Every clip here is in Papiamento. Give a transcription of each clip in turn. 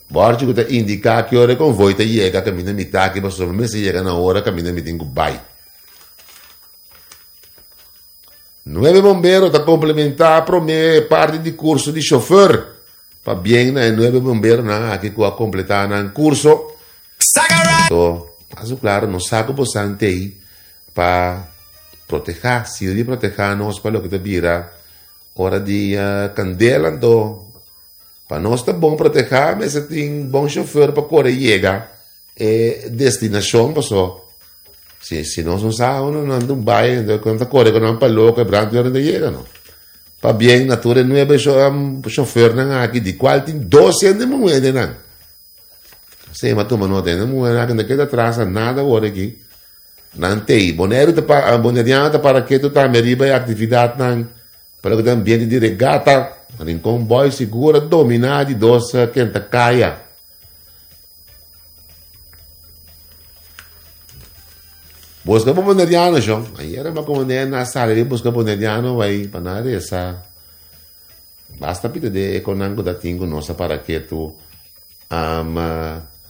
Bòrchi ku ta indiká ki ora e konvoi ta yega kaminda mi ta aki pasobra mi mester yega na ora kaminda mi tin ku bai. Nuebe bombero ta komplementá promé parti di kurso di shofùr. Pabien na e nuebe bomberonan aki ku a kompletá nan kurso. Anto, paso klaro, nos sa ku bosan t'ei pa protehá, sirbi protehá nos pa loke ta bira ora di kandela. Anto, pa nos ta bon protehá mester tin bon shofùr pa kore yega e destinashon paso si si nos no sa unda nan ta bai entonces nan ta kore ku nan pa loko e brandweer no ta yega no. Pabien na tur e nuebe shofùrnan aki di kual tin dos hende muhé den nan. Esei mi a tuma nota hende muhé aki no ta keda atras na nada awor aki. Nan t'ei. Boneiru ta pa Boneriano ta para ketu tambe riba e aktividatnan pa loke ta ambiente di regata. Rincon Boys sigur a dominá di dos kenta kaya. Busca bo boneriano shon. Ayera mi a komand'é na sali bin busca boneriano bai pa nan resa. Basta pita de e konan ku ta tin ku nos a para ketu um,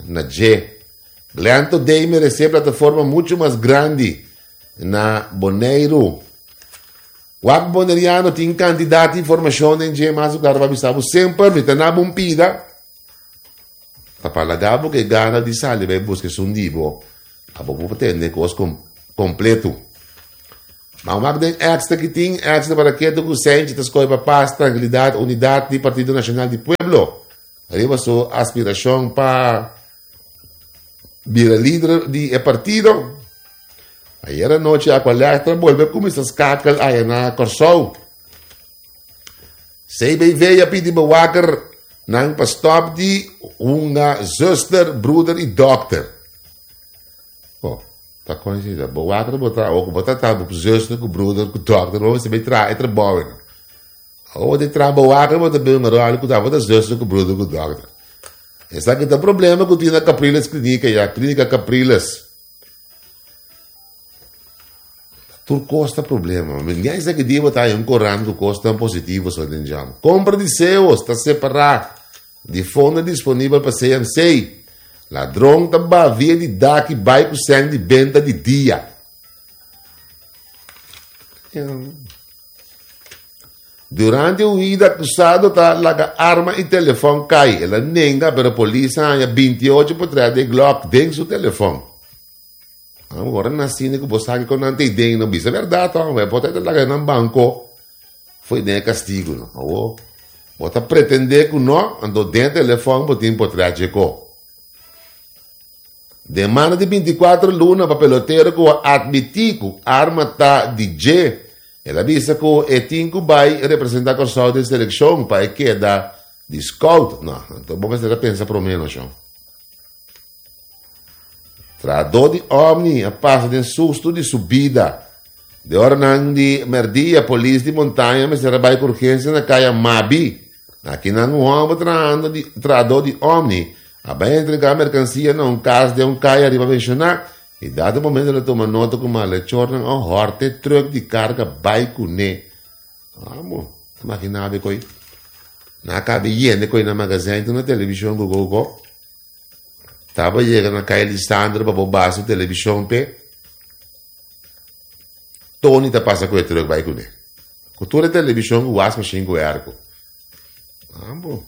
na dje. Glenn Today meresé plataforma muchu mas grandi na Boneiru. Wak Boneriano tin kantidat di informashon den dje mas ku klaro pa bisa bo semper mi ta na bon pida. Ta pa laga bo ke gana di sali bai buska esun di bo. Abo bo por tende kos kompleto. Ma wak den extra ki tin, extra para ketu ku Senchi ta skohe pa pas, trankilidat, unidat di Partido Nashonal di Pueblo. Riba su aspirashon pa bira lider di e partido. Ayer anochi Aqualectra bolbe kuminsá skakel aya na Kòrsou. CBV a pidi bewaker nan pa stop di hunga zuster, broeder y dokter. Oh, ta con si da. Bewaker bo ta ook bo ta ta zuster ku broeder ku dokter, bo mester bay traha e trabou no. Awo bo traha bewaker bo ta bay un rol ku ta bo ta zuster ku broeder ku dokter. Esaki ta problema ku tin na Capriles Klinika ya, Klinika Capriles. Tur kos ta problema. Mi sa ki dia bo ta haña un korant ku kosnan positivo so den djam. Kompra di seos ta separá di fondo disponibel pa CMC. Ladron ta ba via di dak i bai ku sèn di benta di dia. Durante huida akusado ta laga arma i telefòn kai. El a nenga pero polis a haña 28 potrèt di Glock den su telefòn. Ora nan sinti ku bo sa kiko nan ta den no bisa bèrdat hòmber bo ta laga nan banko fo'i den e kastigu no. Awor bo ta pretendé ku no anto den e telefòn bo tin potrèt dje ko. Demanda di 24 luna pa pelotero ku a atmití ku arma ta di dje. El a bisa ku e tin ku bai representá Kòrsou den selekshon pa e keda di scout. No, anto bo mester a pensa promé no shon. Trahadó di Omni a pasa den sustu di su bida. De oranan di merdia polis di Montaña mester a bai ku urgensia na kaya Mabi. Akinan un hòmber trahando di trahadó di Omni a bai entregá merkansia na un kas den un kaya riba menshoná i dado momento el a tuma nota ku malechornan a hòrta e trùk di karga bai kuné. Amo, ta makiná be koi. Nan a kabe yende koi na magazijn tur na televishon ku koko. Taba yega na kaya Lisandro pa bo basa televishon p'e. Tony ta pasa ku e trùk bai kuné. Ku tur e televishon ku wasmashin ku airco. Amo.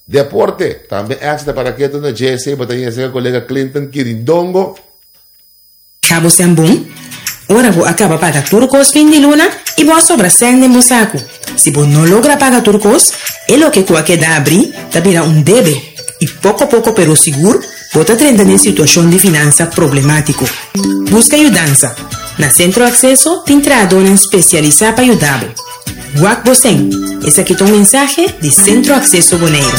Deporte, tambe extra para ketu na JSA bo ta yesa ku kolega Clinton Kirindongo. Cabo sèn bon? Ora bo a caba paga tur cos fin di luna y bo a sobra sèn den bo sacu. Si bo no logra paga tur cos, e loke cu a keda abri ta bira un debe y poco poco pero sigur bo ta drenta den situacion di finansa problematico. Busca yudansa. Na Centro Acceso tin trahadornan specialisa pa yuda bo. Wak bo sèn. Esaki ta un mensahe di Centro Acceso Boneiru.